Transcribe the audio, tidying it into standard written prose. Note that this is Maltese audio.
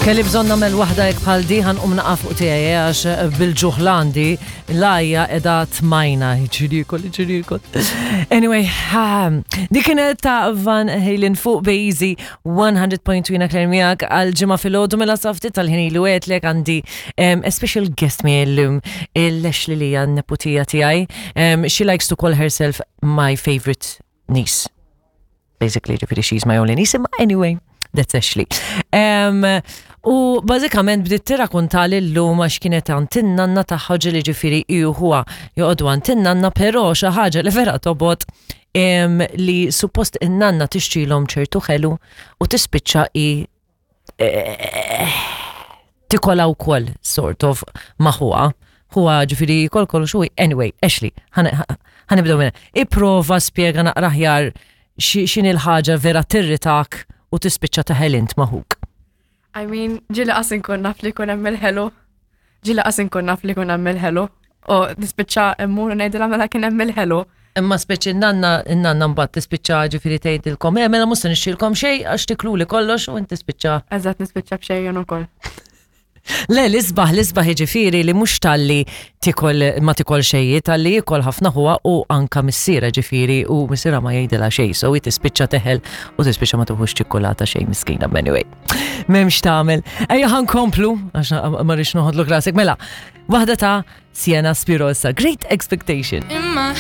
Kelli bżonn nagħmel waħda hekk bħal di ħan qum naqa' fuq tiegħi eh, għax eh, bil-ġuħ l-għandi l-għajja qiegħda tmajna ġirikol ġirikol. Anyway, dik kienet ta' Van Halen fuq Bejzi 100.2 Claire miegħek għal ġimgħa filgħodu mela safti tal-ħin ilu għedlek għandi a special guest mi llum il-Ashley li hija n-neputija tiegħi. She likes to call herself my favorite niece. Basically, ġifieri she's my only niece, imma anyway, that's Ashley. Um, u bażikament bdiet tirrakunta li llum għax kienet għand in-nanna tagħha ġieli ġifieri hi u ħuha joqogħdu għand in-nanna, però xi ħaġa li vera tobgħod um, li suppost in-nanna tixtrilhom ċertu ħelu u tispiċċa i eh, tikola wkoll sort of ma' ħuha. Ħuha ġifieri jikol kollox u anyway, Ashley, ħanibdew minn. Ipprova spjega naqra aħjar x'inhi l-ħaġa vera tirritak u tispiċċa teħel int ma' ħuk. I mean, ġili qas inkun naf li jkun hemm il-ħelu. Ġili qas inkun naf li jkun hemm il-ħelu. U nispiċċa immur u ngħidilha mela kien hemm il-ħelu. Imma speċi n-nanna, n-nanna mbagħad tispiċċa ġifieri tgħidilkom, eh mela mhux se nixtrilkom xejn għax tikluli kollox u inti tispiċċa. Eżatt nispiċċa b'xejn jien ukoll. Le, l-isbaħ, l-isbaħ jiġifieri li mhux talli tikol ma tikol xejn, talli jikol ħafna ħuha u anka missiera ġifieri u missiera ma jgħidilha xejn, so hi tispiċċa teħel u tispiċċa ma tuħux ċikkulata xejn miskina anyway. M'hemmx tagħmel. Ejja ħankomplu għax ma rridx noħodlok rasek. Mela, waħda ta' Sienna Spirosa, Great Expectation.